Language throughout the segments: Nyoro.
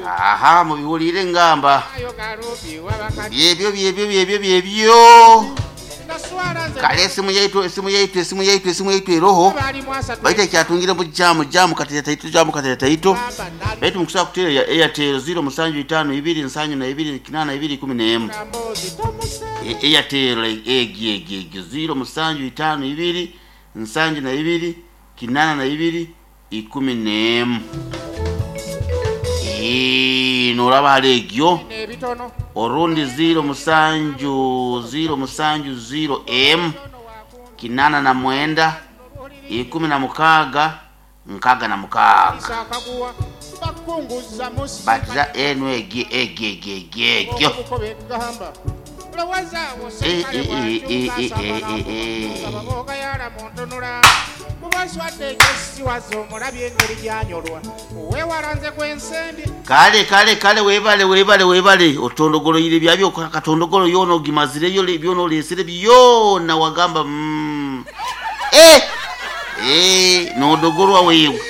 Aha, mubihuliire ngamba. Byebyo byebyo byebyo byebyo. Kale esimu yaitu, esimu yaitu, esimu yaitu, esimu yaitu eroho. Baitu ekyatungire mu jamu jamu katera taito jamu katera taito. Baitu mukusobola kuteera ya Airtel 0 musanju 5 2 nsanju na 2 8 2 11. Airtel egi egi egi 0 musanju 5 2 nsanju na 2 8 na 2 11. Noraba hali egyo orundi 0 musanju 0 musanju 0 m kinana na mwenda ikumi na mukaga nkaga na mukaga batiza enu egi egi egi egi egyo. Kale kale kale webale webale webale otondogoloire byabyo katondogolo yono ogimazireyo byona olesere byona wagamba nodogolwa wewe.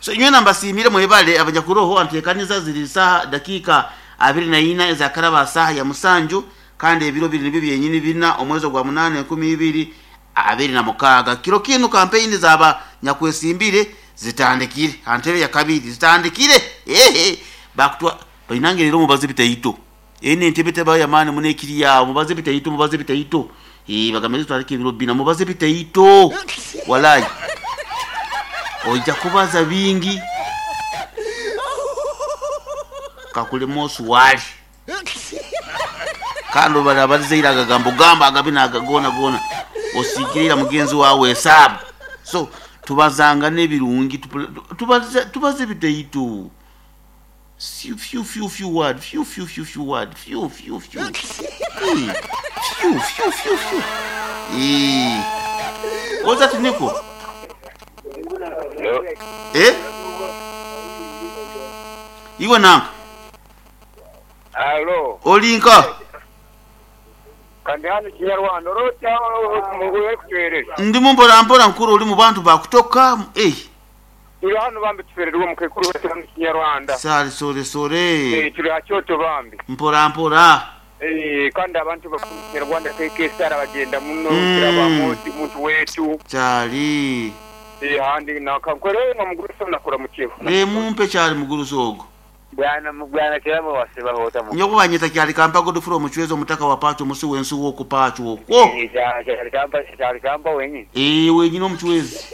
So nywena mbasiimire mwebale abanyakuroho anteekaniza ziri saha dakika 24 ezakaraba saha ya musanju kandi ebiro biri nibyo byenyini bina omwezi gwa 8 2026. Kiro kinu kampeyini zaba nyakwesimbire zitandikire antebe ya kabiri zitandikire. Bakutwa bainange rero mubaze bitaito ene entebe teba ya mani munekiri yawo mubaze bitaito mubaze bitaito bagameze twalike ebiro bina mubaze bitaito walai oija kubaza bingi kakulema osuwali kandi barabarizeira agagambo gamba agabina agagona gona osigirira mugenzi wawe esabu. So tubazanga n'ebirungi tubaze bitaito few few few few word few few few few word few few few few few few few. Oza tiniko iwe nanka. Alo. Olinka. Kandi hano Kinyarwanda orota muguye kutwerera. Ndi mumbora mbora nkuru uri mu bantu bakutoka. Turi hano bambi tufererwa mukekuru wetu hano Kinyarwanda. Sare sore sore. Turi hakyoto bambi. Mpora mpora. Kandi abantu bakunyarwanda keke sara bagenda muno kiraba muntu wetu. Cyari. Handi nakankore no muguruso nakora mukiho. Mumpe cyari muguruso ogo. Bwana mugwana kirabo wasebahota mu. Nyoko banyeta kyali kampa godufuro omuchwezo omutaka wa pacho musi wensi wo ku pacho okwo. Kyali kampa kyali kampa wenyi. Wenyine omuchwezi.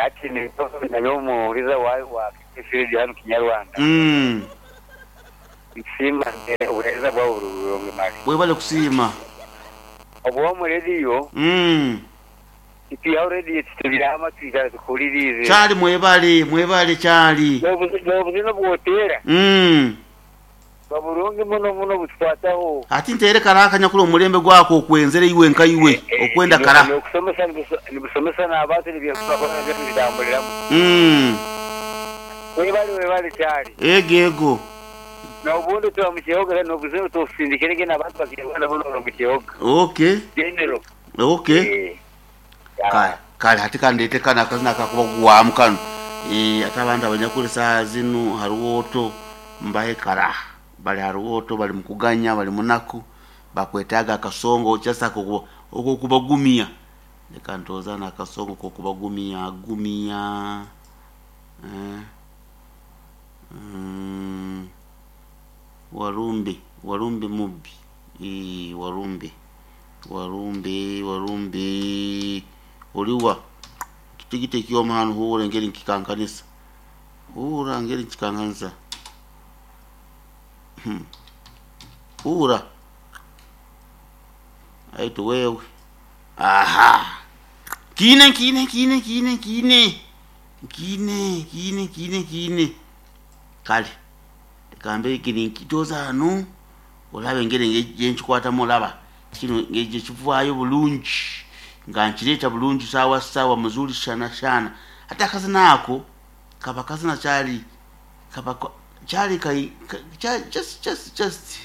Ati ni nayo muhuriza wa kifiri hano Kinyarwanda. Nsimba ubuheza bwa burungi mali. Webale kusima. Obwo mu radio. Ipi already tubirama twigara tukuririze. Cyari mwebale mwebale cyari. N'obuzino bwotera. Baburungi muno muno butwataho. Ati ntere karaka nyakuri omulembe gwako okwenzere iwe nka iwe okwenda kara. Okusomesa nibusomesa n'abantu nibyo bitambuliramu. Webale webale cyari. Ego ego. N'obundi tuba mu kiyoga n'obuzino tusindikirege n'abantu bakirwanda buno mu kiyoga. Okay. General. Okay. Kale kale hati kandete kana akazina kakuba guwamu kano. Ate abantu abanyakuri saa zinu haruwoto mbahe kara bali haruwoto bali mukuganya bali munaku bakwetaga akasongo kyasa okwo kubagumia leka ntoza na akasongo ko kubagumia gumia. Warumbi warumbi mubbi warumbi warumbi warumbi oliwa kitigite kioma hano huura ngeri nkikankanisa huura ngeri nkikankanisa huura aitu wewe aha kine kine kine kine kine kine kine kine kine kale kambe kini nkitoza hano olabe ngeri ngenkikwatamu olaba kino ngeje kivaayo bulungi nga nkireeta bulungi sawa sawa muzuri shana shana ate akazina ako kaba kazina kyali kaba kyali kai just just just